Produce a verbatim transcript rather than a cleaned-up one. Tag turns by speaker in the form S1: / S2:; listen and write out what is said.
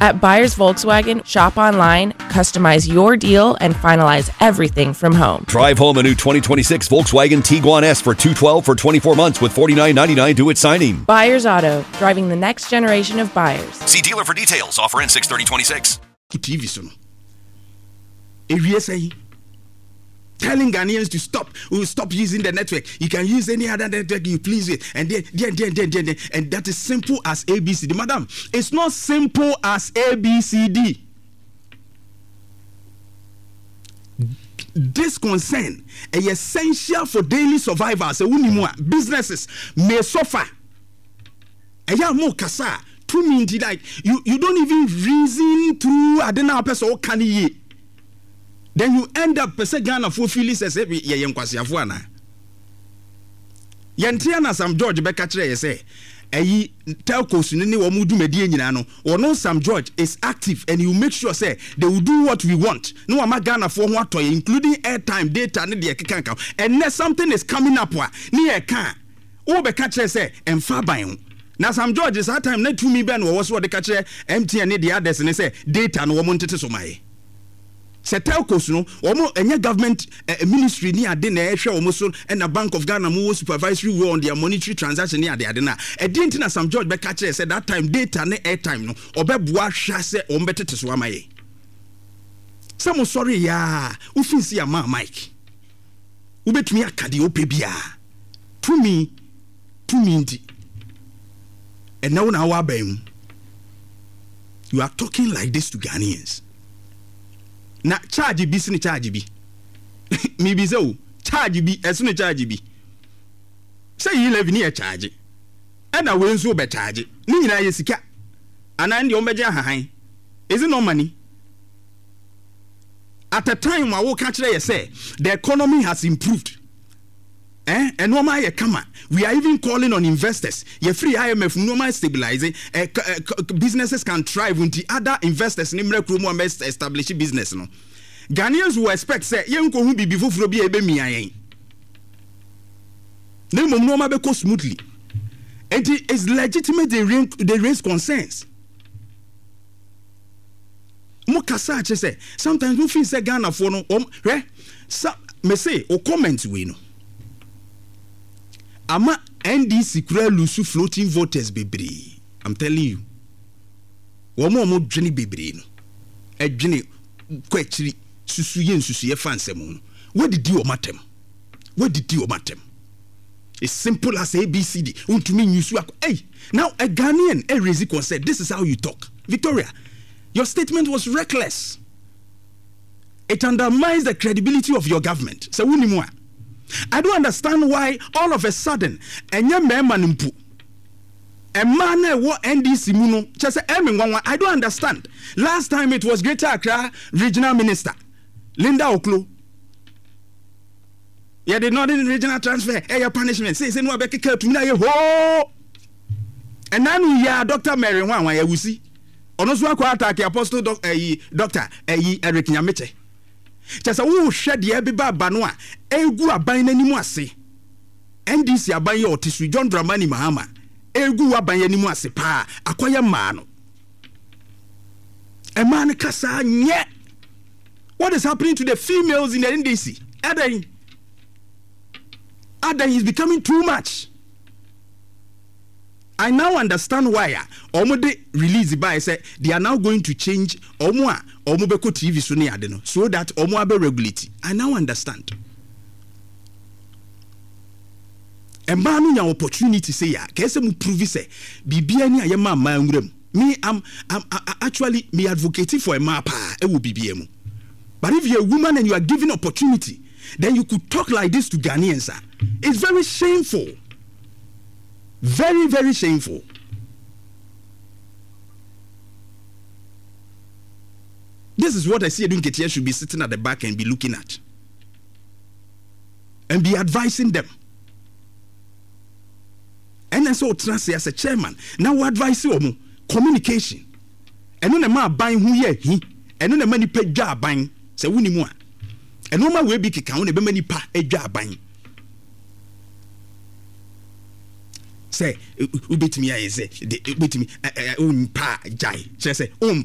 S1: At Buyers Volkswagen, shop online, customize your deal, and finalize everything from home.
S2: Drive home a new twenty twenty-six Volkswagen Tiguan S for two twelve for twenty-four months with forty-nine ninety-nine due at signing.
S1: Buyers Auto, driving the next generation of buyers.
S2: See dealer for details. Offer ends six thirty twenty-six.
S3: T V so no. Ewie sɛn? Telling Ghanaians to stop, will stop using the network. You can use any other network you please with. And then, then, then, then, then, then, and that is simple as A B C D. Madam, it's not simple as A B C D. This concern is essential for daily survival. So, businesses may suffer. Like you, you don't even reason through. I don't know person can ye. Then you end up pese Ghana for feeling sɛ yɛ yɛ nkwasiafo ana. Yɛnte na Sam George bɛka kyerɛ yɛ sɛ ɛyi telcos ne ne wɔn dwumadie nyinaa no, wɔn Sam George is active and you make sure say they will do what we want. No ama Ghana for ho atɔ yɛ, including airtime, data ne deɛ keka nka. And then something is coming up wa ne yɛ ka wo bɛka kyerɛ sɛ ɛmfa ban ho. Na Sam George saa time na tumi bɛn wɔ so wɔde ka kyerɛ M T N ne the others ne sɛ data no wɔn ntete so ma yɛ. Sɛ telcos no wɔn ɛnyɛ government eh, ministry ni ade na ɛhwɛ wɔn so ɛna Bank of Ghana mo wɔ supervisory role on their monetary transaction ni ade ade na ɛdi nti na Sam George bɛka kyerɛ sɛ that time data ne airtime no ɔbɛboa hwɛ sɛ wɔn bɛtete so ama yɛ. Sɛ mo sɔre yaa wofin si ama mic wobɛtumi aka deɛ wopɛ biara tumi tumi nti ɛnɛ wo na awɔ aban mu. You are talking like this to Ghanaians. Na charge bi sini charge bi. Mi bi sɛ o charge bi ɛsini charge bi. Sɛ yi eleven yɛ charge. Ɛna wei nso bɛ charge. Ne nyinaa yɛ sika. Ana ndi wɔn bɛgye ahahan. Is it not money? At a time a wo ka kyerɛ yɛ sɛ the economy has improved. Eh, ɛnneɛma ayɛ kama. We are even calling on investors. Yɛ free I M F nneɛma stabilize. Eh, businesses can thrive until other investors ne mmerɛ kurom a mɛ establish business no. Ghanaians will expect say yɛn nko hu bibi foforɔ bi a ebe mia yɛn. Ne mmom nneɛma bɛkɔ smoothly. Nti it's legitimate they raise, they raise concerns. Mo kasa akyɛ sɛ sometimes mo feel sɛ Ghana foɔ no wɔn hwɛ sa me say o comment wei no. Ama N D C kura lose floating voters bebree. I'm telling you. Wɔn a wɔn dwene bebree no, ɛdwene kɔ akyiri susu yɛ nsusu yɛ fa nsɛm no. Wɔdidi wɔn atɛm. Wɔdidi wɔn atɛm. It's simple as A B C D. Untumi nyusu akɔ. Hey, now a Ghanaian a raise concern. This is how you talk. Victoria, your statement was reckless. It undermines the credibility of your government. So wuni I don't understand why all of a sudden enye mmarima no mpo mmaa na ɛwɔ N D C mu no kyerɛ sɛ ɛmi nwanwa. I don't understand. Last time it was Greater Accra Regional Minister Linda Ocloo. Yeah, the Northern Regional Transfer, eh, punishment. Say, say no, abeke to me na ye ho. And now we are Doctor Mary Nwanwa ya wusi. Ono so akwa attack Apostle doc, eh, Doctor eh, Eric Nyameche. Kyerɛ sɛ wo hwɛ deɛ ɛbɛba aba no a egu aban n'anim ase. N D C aban yɛ ɔte so John Dramani Mahama egu aban anim ase paa akɔyɛ mmaa no. Mmaa no kasa nyɛ. What is happening to the females in the N D C? Adan. Adan is becoming too much. I now understand why omo de release by say they are now going to change omo a omo be ko T V so ne ade no so that omo abe regulate. I now understand. A man no opportunity say ya ka se mu prove say bibia ni aye ma ma nwuram. Me am, am actually me advocating for a ma pa e wo bibia mu. But if you're a woman and you are given opportunity, then you could talk like this to Ghanaians. It's very shameful. Very, very shameful. This is what I see Asiedu Nketia should be sitting at the back and be looking at. And be advising them. And then so trust as a chairman. Now we advise you communication. And no ma ban hu ye hi. And no ma nipa dwa ban. Se wuni mu a. And no ma we bi keka wo na be ma nipa dwa ban. Say, ubetumi aye se, de ubetumi, umpa jai. Che se, um